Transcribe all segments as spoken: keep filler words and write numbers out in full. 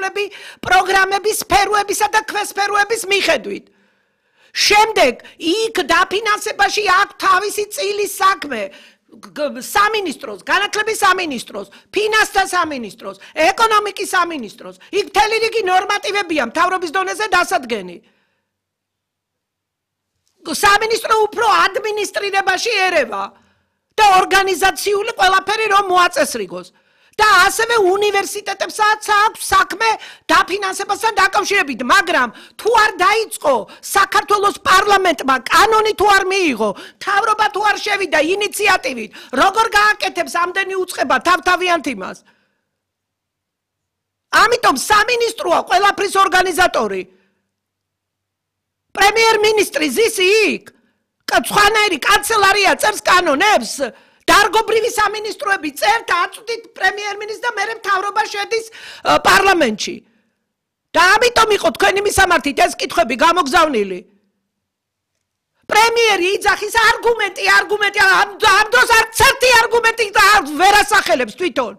მიმართულები პროგრამების სფეროებისა და ქვესფეროების მიხედვით. შემდეგ იქ დაფინანსებაში აქვს თავისი წილის საქმე სამინისტროს, განათლების სამინისტროს, ფინანსთა სამინისტროს, ეკონომიკის სამინისტროს. იქ მთელი რიგი ნორმატივებია მთავრობის დონეზე დასადგენი. სამინისტრო უფრო ადმინისტრირებაში ერევა და ორგანიზაციული ყველაფერი რომ მოაწესრიგოს. და ასევე უნივერსიტეტებსაც აქვს საქმე დაფინანსებასთან დაკავშირებით, მაგრამ თუ არ დაიწყო საქართველოს პარლამენტმა კანონი თუ არ მიიღო, მთავრობა თუ არ შევიდა ინიციატივით, როგორ გააკეთებს ამდენი უწყება თავთავიანთ იმას? ამიტომ სამინისტროა ყველაფრის ორგანიზატორი. პრემიერ-მინისტრი ზის იქ, სხვანაირი კანცელარია წერს კანონებს, დარგობრივი სამინისტროები წერთ, აწვდით პრემიერ-მინისტრს და მერე მთავრობა შედის პარლამენტში. და ამიტომ იყო თქვენი მისამართით ეს კითხვები გამოგზავნილი. პრემიერი იძახის არგუმენტი, არგუმენტი, ამ დროს არც ერთი არგუმენტი ვერ ასახელებს თვითონ.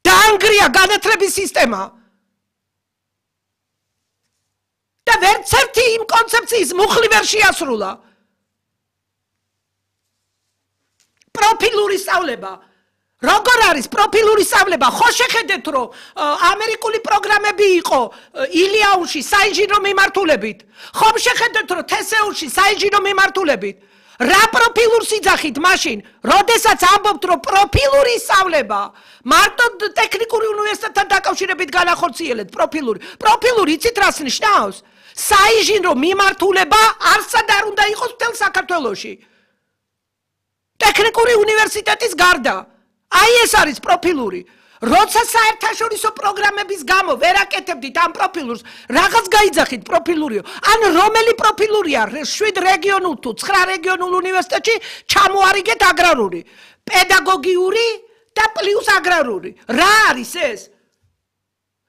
დაანგრია განათლების სისტემა. და ვერც ერთი იმ კონცეფციის მუხლი ვერ შეასრულა. პროფილური სწავლება. როგორ არის პროფილური სწავლება? ხო შეხედეთ რომ ამერიკული პროგრამები იყო ილიაუში საინჟინრო მიმართულებით. ხომ შეხედეთ რომ თესეულში საინჟინრო მიმართულებით. რა პროფილურს იძახით მაშინ, როდესაც ამბობთ რომ პროფილური სწავლება მარტო ტექნიკური უნივერსიტეტთან დაკავშირებით განახორციელეთ პროფილური. პროფილური იცით რას ნიშნავს? საინჟინრო მიმართულება არსად არ უნდა იყოს მთელ საქართველოში. ტექნიკური უნივერსიტეტის გარდა. აი ეს არის პროფილური. როცა საერთაშორისო პროგრამების გამო ვერ აკეთებდით ამ პროფილურს, რაღაც გაიძახით პროფილურიო. ან რომელი პროფილურია შვიდ რეგიონულ თუ ცხრა რეგიონულ უნივერსიტეტში ჩამოარიგეთ აგრარული, პედაგოგიური და პლუს აგრარული. რა არის ეს?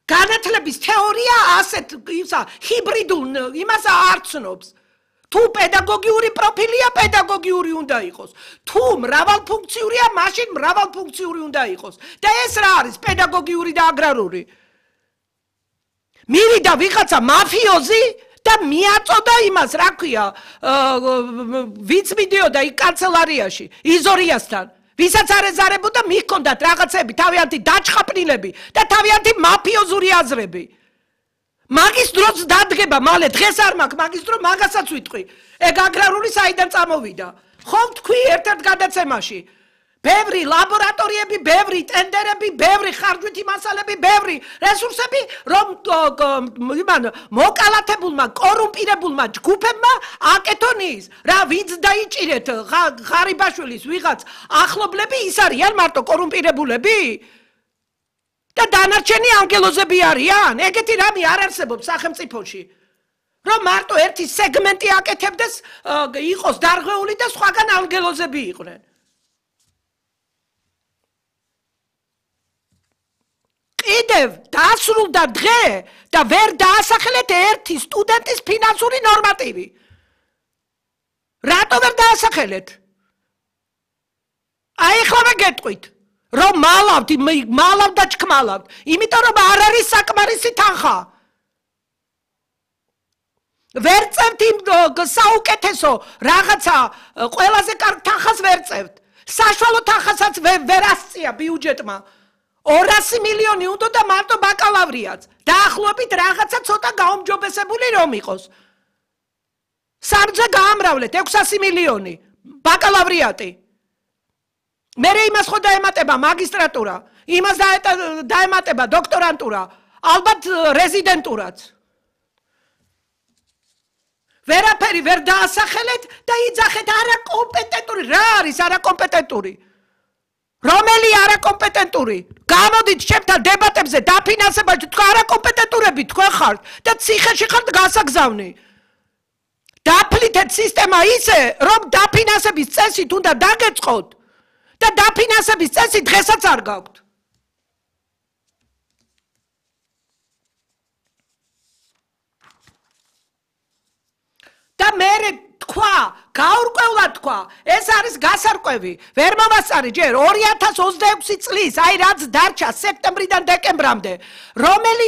განათლების თეორია ასეთ ისა ჰიბრიდულ იმას არ ცნობს. თუ პედაგოგიური პროფილია, პედაგოგიური უნდა იყოს. თუ მრავალფუნქციურია, მაშინ მრავალფუნქციური უნდა იყოს. და ეს რა არის პედაგოგიური და აგრარული? მივიდა ვიღაცა მაფიოზი და მიაწოდა იმას, რა ქვია, ვინც მიდიოდა იქ კანცელარიაში, იზორიასთან. ვისაც არ ეზარებოდა, მიჰქონდათ რაღაცები, თავიანთი დაჩხაპნილები და თავიანთი მაფიოზური აზრები. მაგის დროს დადგება მალე დღეს არ მაქვს მაგის დრო მაგასაც ვიტყვი. ეგ აგრარული საიდან წამოვიდა? ხომ თქვი ერთ-ერთ გადაცემაში. ბევრი ლაბორატორიები, ბევრი ტენდერები, ბევრი ხარჯვითი მასალები, ბევრი რესურსები, რომ იმან მოკალათებულმა, კორუმპირებულმა ჯგუფებმა აკეთონ ის. რა ვინც დაიჭირეთ ღარიბაშვილის ვიღაც ახლობლები, ის არიან მარტო კორუმპირებულები? და დანარჩენი ანგელოზები არიან? ეგეთი რამე არ არსებობს სახელმწიფოში. რომ მარტო ერთი სეგმენტი აკეთებდეს, იყოს დარღვეული და სხვაგან ანგელოზები იყვნენ. კიდევ დასრულდა დღე და ვერ დაასახელეთ ერთი სტუდენტის ფინანსური ნორმატივი. რატო ვერ დაასახელეთ? აი ეხლა გეტყვით. რომ მალავთ, მალავთ და ჩქმალავთ, იმიტომ რომ არ არის საკმარისი თანხა. ვერ წევთ იმ საუკეთესო რაღაცა ყველაზე კარგ თანხას ვერ წევთ. საშუალო თანხასაც ვერ ასწია ბიუჯეტმა. ორასი მილიონი უნდა და მარტო ბაკალავრიაც. დაახლოებით რაღაცა ცოტა გაუმჯობესებული რომ იყოს. სამზე გაამრავლეთ ექვსასი მილიონი ბაკალავრიატი. მერე იმას ხო დაემატება მაგისტრატურა, იმას დაემატება დოქტორანტურა, ალბათ რეზიდენტურაც. ვერაფერი ვერ დაასახელეთ და იძახეთ არაკომპეტენტური. რა არის არაკომპეტენტური? რომელი არაკომპეტენტური? გამოდით ჩემთან დებატებზე დაფინანსებაში თქვა არაკომპეტენტურები თქვენ ხართ და ციხეში ხართ გასაგზავნი. დაფლითეთ სისტემა ისე, რომ დაფინანსების წესით უნდა დაგეწყოთ. და დაფინანსების წესი დღესაც არ გაქვთ. და მერე თქვა, გაურკვევლად თქვა, ეს არის გასარკვევი. ვერ მოვასწარი ჯერ ორი ათას ოცდაექვსი წლის, აი რაც დარჩა სექტემბრიდან დეკემბრამდე, რომელი